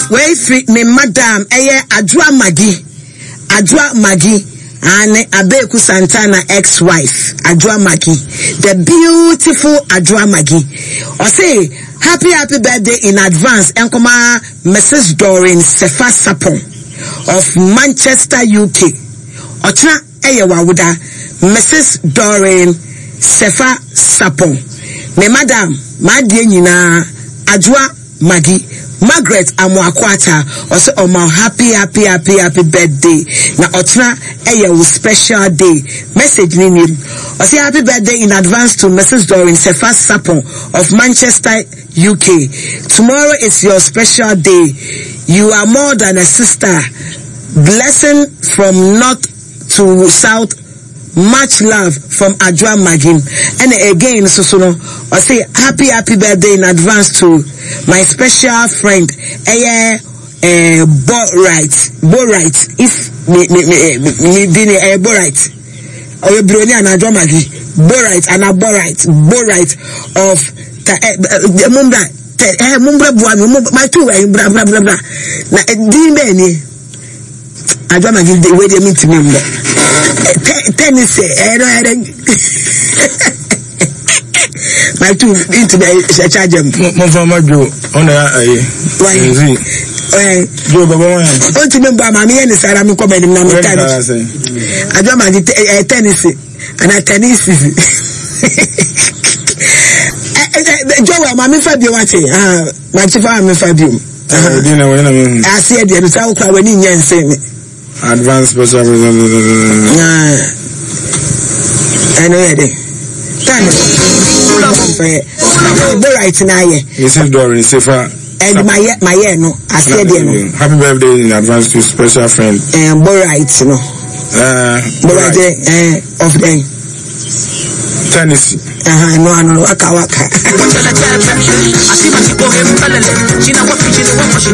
Wei firi me madam ɛyɛ Adwoa Maggie Adwoa Maggie aane Abeku Santana ex wife Adwoa Maggie the beautiful Adwoa Maggie ɔse happy happy birthday in advance ɛnkɔma Mrs Doreen Sefa Sapon of Manchester UK ɔkyena ɛyɛ w'awoda Mrs Doreen Sefa Sapon me madam m'adeɛ nyinaa Adwoa Maggie, Margaret Amoako Atta ɔsɛ ɔma wo happy happy happy happy birthday na ɔkyena ɛyɛ wo special day message no nie ɔsɛ happy birthday in advance to Mrs Doreen Sefa Sapon of Manchester UK tomorrow is your special day you are more than a sister blessing from north to south Much love from Adwoa Magim ɛna again nso so no ɔse happy happy birthday in advance to my special friend ɛyɛ eh, Bo right Bo right if me me me me di ne ɛyɛ Bo right ɔyɛ broni ana Adwoa Magi Bo right ana Bo right Bo right of ta eh, eh, mumbra tɛ eh, mumbra bua mi mu my two eh, bra bra bra bra na eh, din bɛɛ nie. Adwa ma gidi wei deɛ mentumi mmɔ tennis ɛyɛ no ɛyɛ dɛ my two ntumi ɛhyɛ charge mu. mo fa ma dwo ɔna ya ayi. Why? Dwo bɛbɔ wɔn yɛn. Ɔntumi mbɔ ama mi yɛ ne sara mi kɔ bɛ nim na mi ta adwa ma gidi ɛyɛ tennis ana tennis. Joel maame fa bio wate ma ti fa maame fa bio. Aseɛ deɛ no saa wokora w'ani nyɛ nse me. Advance special. Ɛno yɛ de. Time. Borite na ayɛ. Mrs. Dorin Sefa. And my my year no aseɛ deɛ no. Happy birthday in advance to special friend. And Borite no. Borite of them. Tennessee. Ɛno ano waka waka.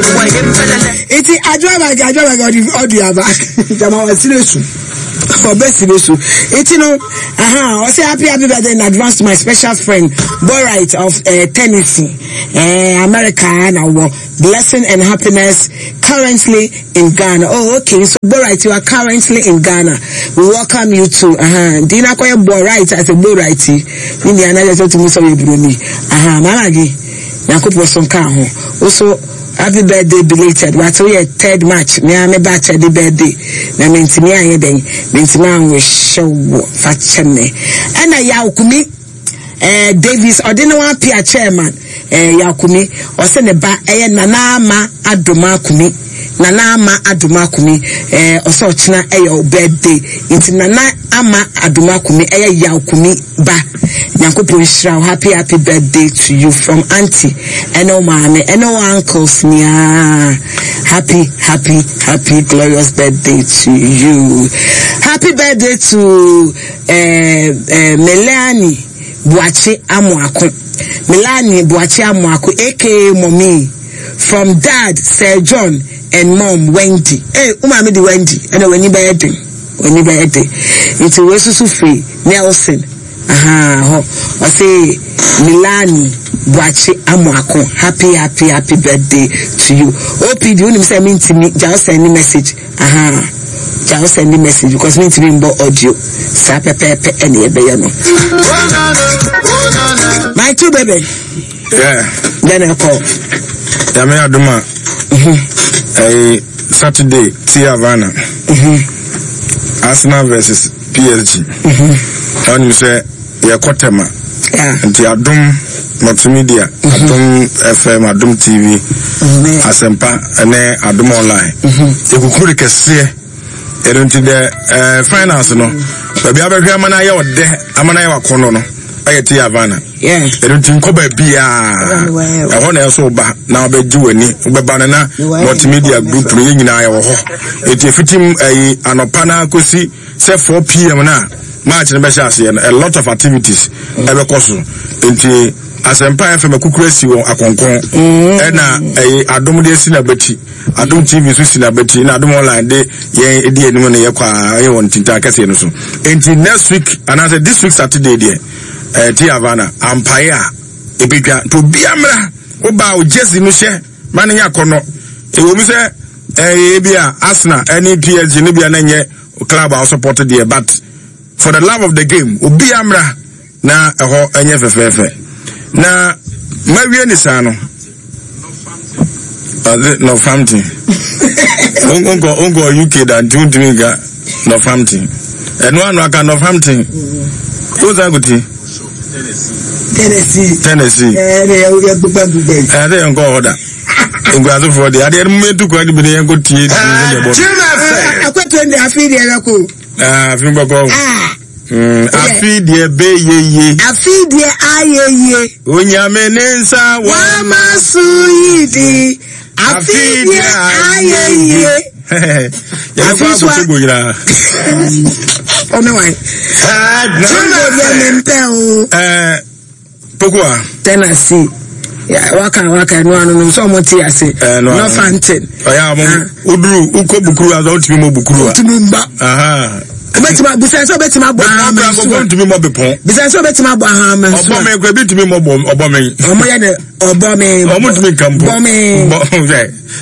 Nti adwoabage adwoabage ɔde ɔde aba jama wasire su ɔbɛ sire su nti no aha ɔsɛ happy happy birthday in advance to my special friend Borite of uh, Tennessee uh, America na wɔ blessing and happiness currently in Ghana. Oh, okay. So, Borite, you are currently in Ghana. We welcome you to. Uh-huh. Dina Koye Borite as a Borite. Ni ni ana to musa we broni. Aha, mama gi. Nyankopɔn so nka ho. Also, happy birthday belated. What we third March. Me ame ba the birthday. Na mentimi ayɛ den. Mentimi anwish wo fa kyɛ me. Ɛna yaw kumi Eh, Davis ɔde ne ho apia chairman eh, Yakumi ɔsɛ ne ba ɛyɛ Nana Ama Adoma Kumi Nana Ama Adoma Kumi eh, ɔsɛ ɔkyena ɛyɛ o birthday nti Nana Ama Adoma Kumi ɛyɛ Yaw Kumi ba Nyankopɔn nhyira wo happy happy birthday to you from auntie ɛne wo maame ɛne wo uncles nyinaa happy happy happy glorious birthday to you happy birthday to eh, eh, Melanie Boakye Amoako. Melanie Boakye Amoako, aka Mommy, from dad Sir John and mom Wendy. Hey, wo maame de Wendy, ɛna w'ani bɛyɛ den, w'ani bɛyɛ den. Nti wei soso firi Nelson, aha, hɔ. Ɔse Melanie Boakye Amoako, happy happy happy birthday to you. OPD, wonim sɛ mentimi, gya wo send message. Ahaa gya wo send message because me ntumi mbɔ audio saa pɛpɛɛpɛ ɛna yɛbɛyɛ no. My two baby. Yeah. Then I call. Yàmi aduma. Ɛyɛ Saturday ti Havana. Arsenal versus PSG. Ɔnim sɛ. Yɛkɔ Tema. Nti Adom Multimedia, mhm. Adom FM, Adom TV, mhm. Asɛmpa ne Adom Online. Mhm. Yɛkukuru de kɛseɛ. Ɛno nti dɛ eh, finance no, baabi abɛhwɛ ama no ayɛ ɔdɛ, ama no ayɛ wakɔnnɔ no, ɛyɛ te Havana. Ɛno nti nkɔ baabiaa. Ɛhɔ na ɛso ba na wobɛgye w'ani. Wobɛba no na multimedia group no yɛ nyinaa yɛwɔ hɔ. Ɛti ɛfitim ɛyi anɔpa no akɔsi Sɛ 4 pm no a match no bɛhyɛ aseɛ no, a lot of activities ɛbɛkɔ so. Nti Asɛmpa FM akukuru asi wɔ akɔnkɔn, ɛna ɛyɛ Adom de asi n'abati, Adom TV nso si n'abati, na Adom Online de yɛn edi anim no yɛkɔ a ɛyɛ wɔn ntintan kɛseɛ no so. Nti next week anaasɛ this week Saturday deɛ ɛɛ ti Havana ampaeɛ a ebedwa nti obiara mmra, wobaa o jersey no hyɛ ma no nyɛ akɔnɔ. Ɛwɔ mu sɛ ɛyɛ bi a Arsenal ɛne PSG ne bia na nyɛ club a ɔsupɔt deɛ, but for the love of the game, obi amra na ɛhɔ ɛnyɛ fɛfɛɛfɛ. Na mawie ne saa no, ɔde Northampton wonkɔ UK da, nti wontumi nka Northampton. Ɛno ano aka Northampton, wosan kɔti Tennessee. Tennessee. Ɛɛ yɛ yɛ gbogbo gbogbo yi. Ɛɛ yɛn kɔ hɔ da. Nkurasefoɔ deɛ, adeɛ no mu yɛn tu kwan bi ne yɛn kɔ tie. Akɔtɔ ndi afi deɛ bɛ ko. Afi bɛ kɔ. Afi deɛ bɛ ye ye. Afi deɛ ayɛ ye. Onyame ne nsa wama so yi di. Afi deɛ ayɛ ye. Yɛbɛkɔ akɔtogo nyinaa. Ɔne wan. Togo deɛ mempɛ o. Pokoa. Tennessee. Waka waka ɛnu ano no sɛ ɔmo te ase. Northampton. Ɔyɛ a ɔmo woduru wokɔ bukuru a wotumi mɔ bukuru a. Wotumi mba. Obetumi bisa sɛ obetumi abɔ ahama nsu a. Ntumi mɔ bepɔn. Bisa sɛ obetumi abɔ ahama nsu a. Ɔbɔ mi kura bi ntumi mɔ ɔbɔ mi. Ɔmo yɛ ne ɔbɔ mi. Ɔmo ntumi nka mpo. Bɔ mi. Bɔ hwɛ.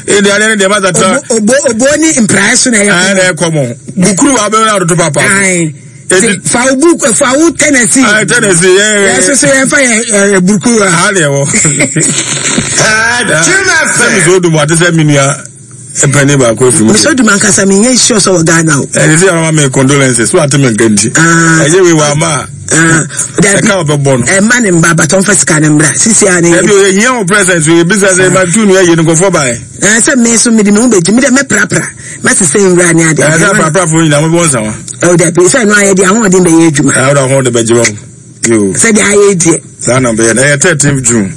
Ebi adeɛ ne deɛ ba tata. Obo obo ni mprae so na ɛyɛ kɔmɔ. Ɛna ɛkɔ mɔ. Bukuru wa bɛ na ɔdodo papa. Eti fa wo book, fa wo Tennessee. Ah, Tennessee, yeah, yeah. Yɛ soso yɛn fa yɛ buruku wa. Ha deɛ wɔ. Sɛ mi so dum ate sɛ mi nua mpanyin baako efiri mu. Mi so dum ankasa mi nye sure sɛ wɔ Ghana o. Ɛdi sɛ ɔma mi condolences so ate mi nka nti. Ɛyɛ wei wa ama. Ɛka ɔbɛ bɔ no. Ɛma ne mba abatɔ nfa sika ne mbra sisi a ne. Ɛbi o yɛ hiɛ wɔ present o yɛ bisa sɛ ɛma tu nua yɛ ne nkɔfɔ ba yɛ. Ɛɛ sɛ mi so mi di mi ho bɛ gyi mi dɛ mɛ prapra. Mɛsesa nwura ne ade. Ɛsɛ sɛ aprapra nyinaa mobɔ nsa wa. Ɛwɔ dabi sɛ ɛno ayɛ deɛ ahoɔden bɛyɛ adwuma. Ɛwɔ de ahoɔden bɛgye wɔn. Yoo. Sɛ deɛ ayɛ deɛ. Saa na bɛyɛ na ɛyɛ 13 June.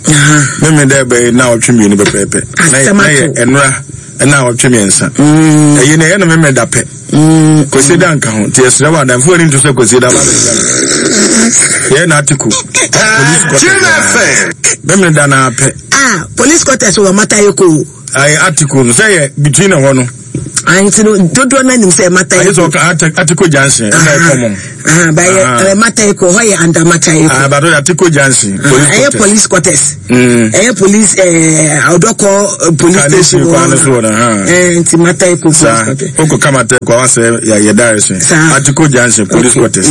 Mímí dɛ bɛyɛ na ɔtwe mmienu pɛpɛɛpɛ. Asɛm ato. Na yɛ ɛnora ɛna ɔtwe mmiɛnsa. Ɛyɛ na ɛyɛ na mímí da pɛ. Kwesi da nka ho nti ɛsrɛ wɔ adamfo ani nto sɛ kwesi da ba bɛ yɛ na atiku. Police quarters. Mímí da na apɛ. Ah, police quarters wɔ Matayeko. Ayi article no sɛ yɛ between ɛhɔ no. Ayi ti no dodoɔ no anim sɛ Matayeko. Ayi sɛ ɔka Atiko Junction ɛna ɛkɔ mɔ. Bɛyɛ Matayeko hɔ yɛ under Matayeko. Abato yɛ Atiko Junction police quarters. Ɛyɛ police quarters. Ɛyɛ police Ɔdɔkɔ police station wɔ hɔ. Nti Matayeko police quarters. Okɔ ka Matayeko awa sɛ yɛ direction. Atiko Junction police quarters.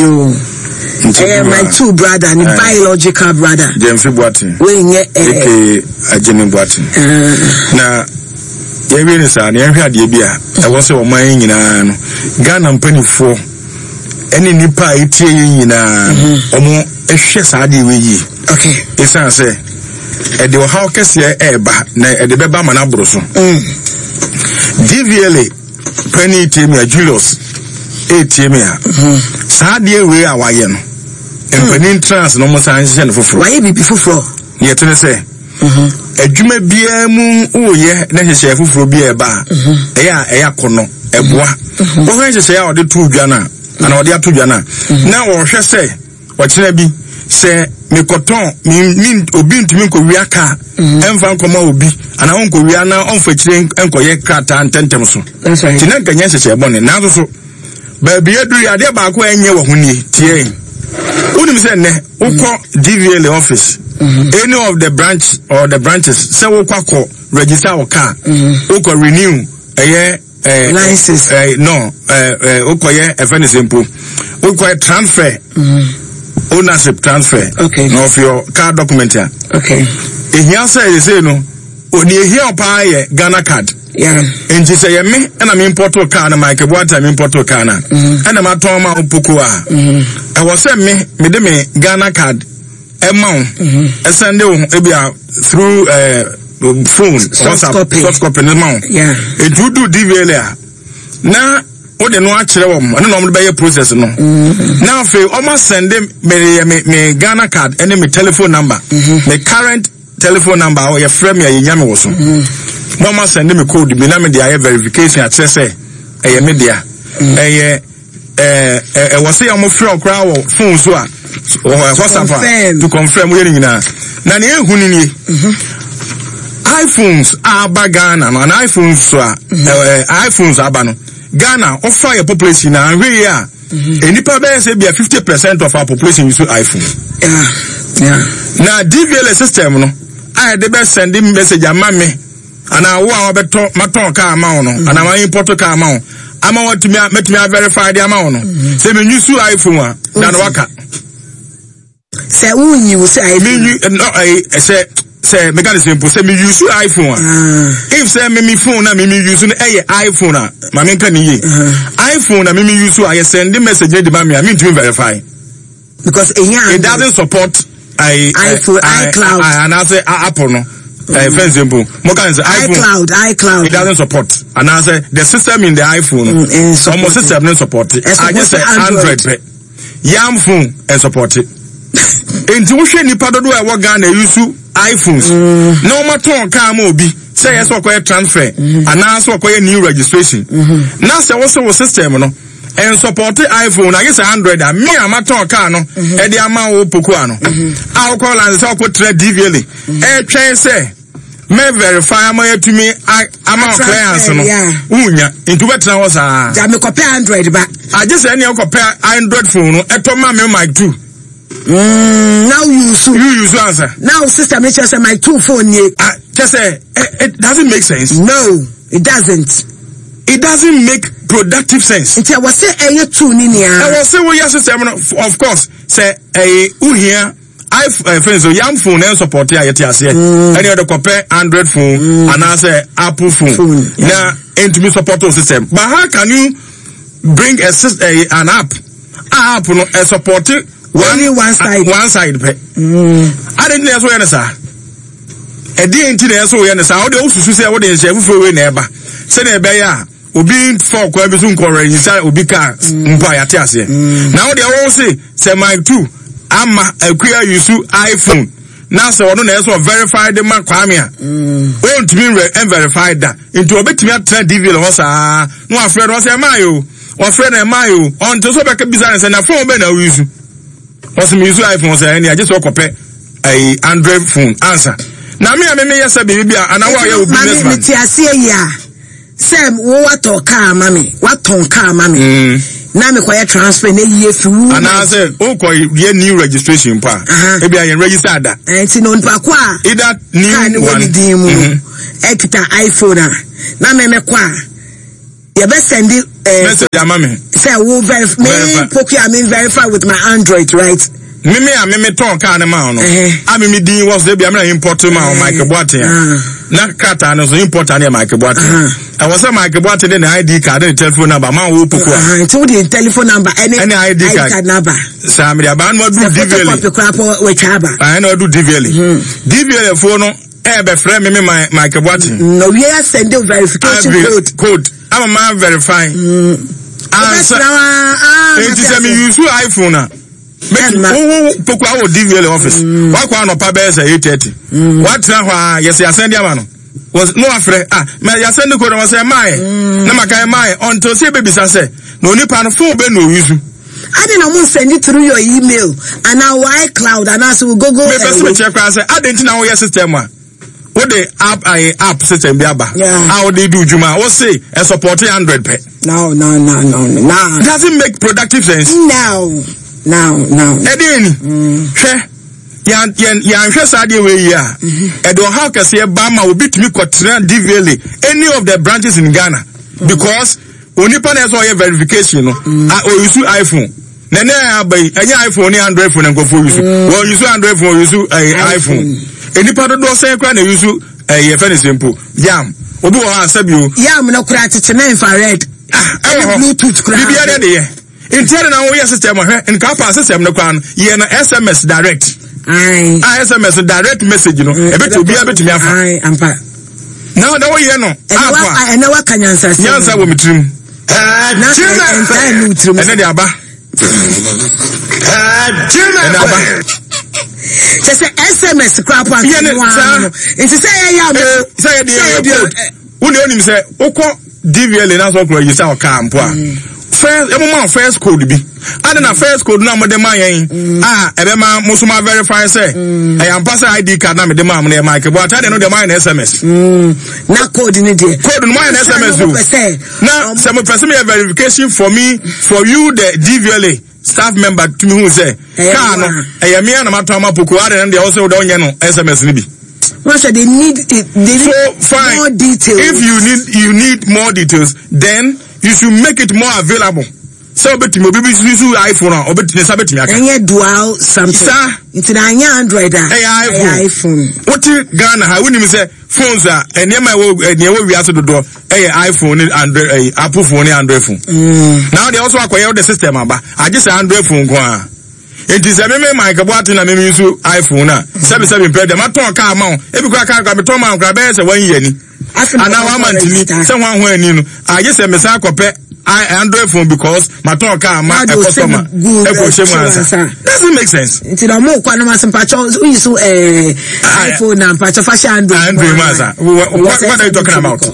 Ɛyɛ my two brother ne biological brother. Jemfi Boateng. Wei nyɛ ɛɛ. Aka Agyene Boateng. Na yɛwie ne saa na yɛnhwɛ adeɛ bi a ɛwɔ sɛ ɔman yi nyinaa no, Ghana mpanimfoɔ ɛne nnipa a ɛtie yɛn nyinaa wɔn hwɛ saa adeɛ wei yie. Ɛsiane sɛ ɛde ɔhaw kɛseɛ ɛreba na ɛde bɛba ma no aboro so. DVLA panyin tie me a, Julius ɛretie me a, saa adeɛ wei a wayɛ no, mpanin trans na wɔn san hyehyɛ no foforɔ. Wayɛ biribi foforɔ. Deɛ ɛte ne sɛ, adwuma biara mu woyɛ na nhyehyɛeɛ foforɔ bi a ɛba a, ɛyɛ a ɛyɛ akɔnnɔ, ɛboa. Wohwɛ nhyehyɛeɛ a ɔde to dwa no a, anaa ɔde ato dwa no a, na wɔhwɛ sɛ ɔkyena bi sɛ mekɔtɔn me, me, obi ntumi nkɔwia kaa ɛmfa nkɔma obi anaa ɔnkɔwia na ɔmfa akyire nkɔyɛ krataa ntɛntɛm so. Nti na nka nyɛ nhyehyɛeɛ bɔne. Nanso so baabi aduru yi, adeɛ baako a ɛnyɛ wɔ ho nie, tie. Wonim sɛ nnɛ wokɔ DVLA office, any of the branch or the branches, sɛ wokɔ akɔ register wo car, wokɔ renew ɛyɛ license, no, wokɔ yɛ ɛfɛ ne sɛ mpo wokɔ yɛ transfer, ownership transfer, na of your car document a. Ehia sɛ yɛsei no, deɛ ehia paa yɛ Ghana card. Nti sɛ yɛ me ɛna me import car no, Michael Boateng me import car no, ɛna ma tɔn ma wo poko a, ɛwɔ sɛ me mede me Ghana card ɛma wo, ɛsɛnde wo ebi a through phone, WhatsApp, soft copy ne ma wo. Nti wodu DVLA a, na wode no akyerɛ wɔn, ɛno na wɔn de bɛyɛ process no. Na afei wɔn asɛnde me yɛ me Ghana card ɛne me telephone number, me current telephone number a yɛfrɛ me a yɛnya me wɔ so, na ɔma sɛnde me code bi na mede ayɛ verification akyerɛ sɛ ɛyɛ me dea. Ɛyɛ ɛɛ ɛwɔ sɛ wɔn frɛ koraa wɔ phone so a WhatsApp a to confirm yɛ ne nyinaa. Na nea ehu ne nie, iPhones a aba Ghana no, ana iPhones so a ɛɛ iPhones aba no Ghana, ɔfa yɛ population na ahwɛ yie a, nnipa bɛyɛ sɛ bia 50% of our population use iPhone. Na DVLA system no a yɛde bɛ send message ama me. anaa wo a wabɛtɔ matɔn kaa ama wo no mm. anaa ma import kaa ama wo ama watumi mɛtumi averify de ama wo no mm. sɛ menyi su iPhone a na no waka. Sɛ wonyi wo sɛ iPhone. Menyi no ɛyi sɛ sɛ meka ne sɛ mpo sɛ me use iPhone a ah. if sɛ me me phone na me me use no ɛyɛ iPhone a ma menka ne yie uh-huh. iPhone na me me use a yɛ send message ne de ma me a mentumi verify. Because ehia it doesn't support I, iPhone, I, iCloud. I, anaasɛ Apple no. Fɛn sɛ mpo mo kan sɛ iPhone iCloud iCloud it doesn't support anaasɛ the system in the iPhone no ɔmo system no support agye sɛ Android pɛ yam phone ɛsupporte nti wohwɛ nipa dodoɔ a ɛwɔ Ghana yusu iPhones mm. na wɔn atɔn kaa ma obi sɛ yɛ sɛ ɔkɔyɛ transfer mm. anaasɛ ɔkɔyɛ new registration mm-hmm. na sɛ wosɛ wo system no ɛnsɔpɔte iphone na ayɛ sɛ android a me a matɔn kaa no ɛde mhm. ama wo pokoa no mhm. a wokɔ lanse sɛ wokɔtra dvla ɛtwɛn sɛ mɛ verify ama yɛatumi ama wo clearance no wonya nti wobɛtena hɔ saa gya mekɔpɛ android ba agye sɛ ɛneɛ wokɔpɛ android phone no ɛtɔ ma me mic 2 Mm, now you so. You use answer. Now sister me kyerɛ sɛ my two phone nie. Ah, kyɛ sɛ it doesn't make sense. No, it doesn't. It doesn't make productive sense. Nti ɛwɔ sɛ ɛyɛ two ni nia. Ɛwɔ sɛ woyɛ system no of course sɛ ɛyɛ uhia iPhone eh, so yam phone ɛn support a yɛte aseɛ ɛne ɛde kɔpɛ android phone mm. anaasɛ apple phone, phone na ɛntumi support o system but how can you bring a, a an app a app no ɛ support one, only one side one side pɛ adi nti na ɛso yɛ ne saa ɛdeɛ nti na ɛso yɛ ne saa ɔde osusu sɛ ɔde nhyɛ fufuo wei na ɛba sɛdeɛ ɛbɛyɛ a obi nfa ɔkwan bi so nkɔrɔ nsa obi kaa mpo a yɛate aseɛ na ɔde ɛwɔ se sɛ mic two ama akua yusu iphone na sɛ ɔno na ɛsɛ ɔverify de ma kwame a ɔntumi nverify da nti ɔbɛtumi atena dvl hɔ saa na wafrɛ no ɔsɛ ɛmaa yɛ o Wɔfrɛ no ɛmaa yi o, ɔnte so bɛka bisa no sɛ na phone bɛn na woyi Ɔsɛ mi use iPhone sɛ ɛne agye sɛ ɔkɔpɛ ɛyi Android phone ansa. Na me a me meyɛ sɛ biribi bi a anaa wo a ɔyɛ wo business man. Mame te aseɛ yi a sɛ wo watɔ kaa ma me watɔn kaa ma me mm. na mekɔyɛ transfer na eyi efi wu. Anaasɛ wokɔ yɛ new registration mpo a ebi a yɛn register ada. Nti na onipa ko a either new one kaa ne wɔ ne din mu no ɛkita iPhone a na mɛmɛkɔ a. Yɛbɛ sɛndi eh, message ama me. Sɛ wo verify me poku a me verify with my android right. Me me a me me tɔn kaa ne ma no. A me me din wɔ so ebi a me na import ma o Michael Boateng a. Na krataa no so importer ne yɛ Michael Boateng. Ɛwɔ sɛ Michael Boateng de ne ID card ne telephone number ma wo poku a. Nti wo de telephone number ɛne ɛne ID card number. Saa me de aba no adu DVLA. Sɛ photocopy koraa po wɔatwa aba. Ɛna adu DVLA. DVLA foɔ no. Ɛ bɛ frɛ me me ma Michael Boateng. Mm, na owie asɛnde verification code. Code ama ma verify. Mm. Ansa eti sɛ mi use iPhone a. Mɛti wo poku awɔ DVL office. Mm. Wakɔ anɔpa bɛyɛ sɛ 8:30. Mm. Watena hɔ a yɛsɛ asɛnde ama no. No afrɛ ah mɛ yasɛnde code wɔn sɛ ɛmaa yɛ. Mm. Na maka ɛmaa yɛ until sɛ ebebisa sɛ na onipa no phone bɛ na oyusu. Adi na mo send through your email anaa wɔ iCloud anaasɛ wɔ Google. Mepɛ sɛ mekyerɛ koraa sɛ adɛn nti na woyɛ system a wode app ayɛ app system bi aba a wode di dwuma a wose ɛsupɔte Android pɛ. No no no no no. Doesn't make productive sense. No no no. Ɛdeɛ ni hwɛ yɛanhwɛ saa adeɛ wei yie a ɛde ɔhaw kɛseɛ ba ma obi tumi kɔtena DVLA any of the branches in Ghana because. Onipa na ɛsɛ ɔyɛ verification no mm. a ɔyusu iPhone na ɛnɛ aba yi ɛnyɛ iPhone ne Android phone na nkurɔfoɔ yusu mm. wɔn yusu Android phone yusu ɛyɛ eh, iPhone nnipa dodoɔ sɛn koraa na yusu ɛyɛ eh, yɛfɛ ne sɛ mpo yam obi wɔ hɔ asɛ bio. Yam no koraa tete na infrared. Ah, ɛwɔ hɔ Bluetooth koraa. Biribiara de yɛ nti ɛde na woyɛ system hwɛ nka pa system no koraa no yɛ no SMS direct. Ayi. A SMS direct message no mm, ebɛti obiara bɛtumi afa. Ayi ampa. Na na woyɛ no app a. Ɛnɛ waka nyansa sɛm. Nyansa wɔ me tirim. Na ɛntaa nni wo tirim. Ɛnɛ de aba. Ɛnɛ aba. Kyɛ sɛ SMS koraa po anka no ara no. Nti sɛ yɛyɛ a. Sɛ yɛ de yɛ code. Wo deɛ wonim sɛ wokɔ DVLA na sɛ ɔkura yi sɛ ɔkaa mpo a mm. first ɛmo ma first code bi ade na first code na mo de ma yɛn mm. a ɛbɛma mo so ma verify sɛ mm. ɛyɛ ampa sɛ ID card na me de ma mo no yɛ Mike Boateng de no deɛ mo ayɛ no SMS. Na code no deɛ. Code no mo ayɛ no SMS o na sɛ mo pɛ sɛ mo yɛ verification for me for you the DVLA staff member tumi hu sɛ kaa no ɛyɛ mmea na ma tɔn ama poko ade no deɛ ɔsɛ ɔdɛ ɔnyɛ no SMS no bi. Wɔn sɛ they need they need So fine. more details. If you need more details, then you should make it more available. Sɛ obetumi obi bi su iPhone a obetumi nsa betumi aka. Ɛnyɛ dual something. Saa. Nti na anyɛ Android a. Ɛyɛ iPhone. Ɛyɛ iPhone. Wote Ghana ha wonim sɛ phones a nneɛma ɛwɔ nea ɛwɔ wiase dodoɔ ɛyɛ iPhone ne Android ɛyɛ Apple phone ne Android phone. Na deɛ ɔso akɔyɛ wode system aba agye sɛ Android phone nko ara. Nti sɛ meme Mike Boateng na meme nso iPhone a sɛbi sɛbi mpɛ deɛ matɔn kaa ma wo ebi kora kaa kora metɔn ma wo kora bɛyɛ sɛ wɔn yɛ ni anaa wɔn ama ntini sɛ wɔn ahoɔ ani no agye sɛ mesan akɔpɛ Android phone because matɔn kaa ma ɛkɔsɔma ɛkɔ hyɛ mu ansa. Doesn't make sense. Nti na ɔmo kɔ anam ase mpatsɔ oyi so ɛɛ iPhone na mpatsɔ fa hyɛ Android. Android mu ansa. What are you talking about?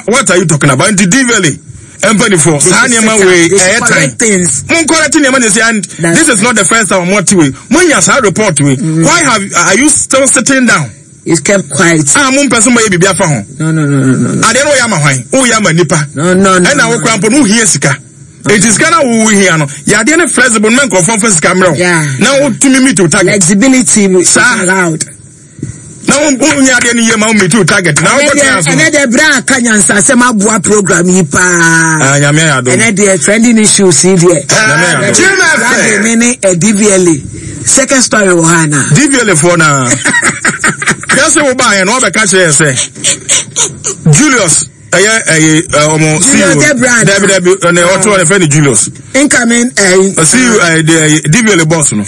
What are you talking about? Nti DVLA mpanimfoɔ saa nneɛma wei ɛyɛ tan mo nkɔrɛte nneɛma na ɛsɛ and this is not the first time mo ate wei mo nya saa report wei why have are you still sitting down? You kept quiet. Ah, mo mpɛ sɛ mo yɛ biribi afa ho. No, no, no, no, no. Adeɛ no wɔyɛ ama hwan? Woyɛ ama nipa. No, no, no. Ɛna wo kora mpo no wohia sika. Eti sika na wo hia no, yɛ adeɛ no flexible na nkurɔfoɔ mfa sika mmerɛ wo. Na wotumi meet your target. Flexibility is allowed. Na wo nyɛ adeɛ no yie ma wo meet your target. Na wokɔ tena so. Ɛnɛ deɛ bere a ka nyansasɛm aboa program yi paa. Ah, nyame ayɛ adom. Ɛnɛ deɛ trending issues yi deɛ. Nyame ayɛ adom. Lade ne ne DVLA. Second story wɔ ha na. DVLA foɔ na. Yɛsɛ wo baayɛ no wɔbɛka kyerɛ yɛ sɛ Julius ɛyɛ ɛyɛ ɔmo CEO dɛbi dɛbi ɛnɛ ɔtɔ ɛfɛ ni Julius. Incoming ɛyi. CEO ɛyɛ DVLA boss no.